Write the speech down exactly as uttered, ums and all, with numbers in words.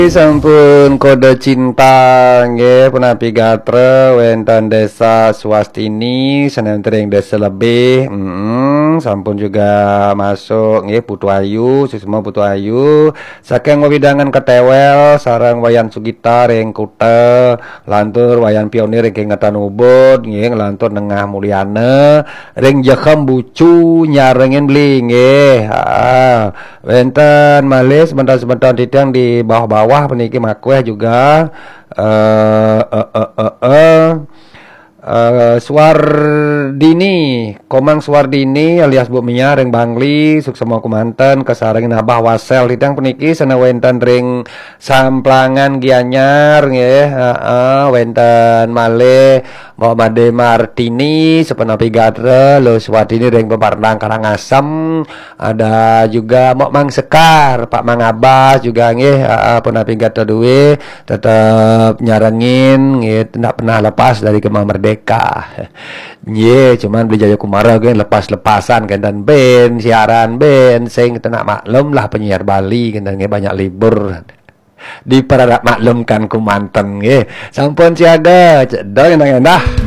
Sampun kode cinta nggih, punapi gatra wénten Désa Swastini, sané wénten ring Désa Lebih. Mm, sampun juga masuk nggih, Putu Ayu, suksma Putu Ayu. Saking wewidangan Ketéwél sareng Wayan Sugita ring Kuta, lantur Wayan Pionir ring Kingetan Ubud nggih, lantur Nengah Mulyana ring Jekem Bucu nyarengin beli nggih. Ah, wénten malih semeton-semeton titiang di bawah-bawah puniki makweh juga. Eh, eh, eh, eh, eh. Eh, Suwardini, Komang Suwardini alias Bu Mia ring Bangli, suksma kumanten kasarengin Abah Wasel titiang puniki sané wénten ring Samplangan Gianyar nggih. Heeh, wénten malih Mbok Made Martini, sapunapi gatra, Luh Suwardini ring Peparnang Karangasem, ada juga Mbok Mang Sekar, Pak Mang Abas juga nggih, heeh, punapi gatra duwé, tetep nyarengin nggih, ndak pernah lepas dari Gema Merdeka. Nggih, cuman beli Jaya Kumara nggih lepas-lepasan kénten bén, siaran bén, sing tenak maklum lah penyiar Bali kénten nggih banyak libur. Diperharap maklumkan kumanten nggih. Sampun siaga, cedok endah-endah.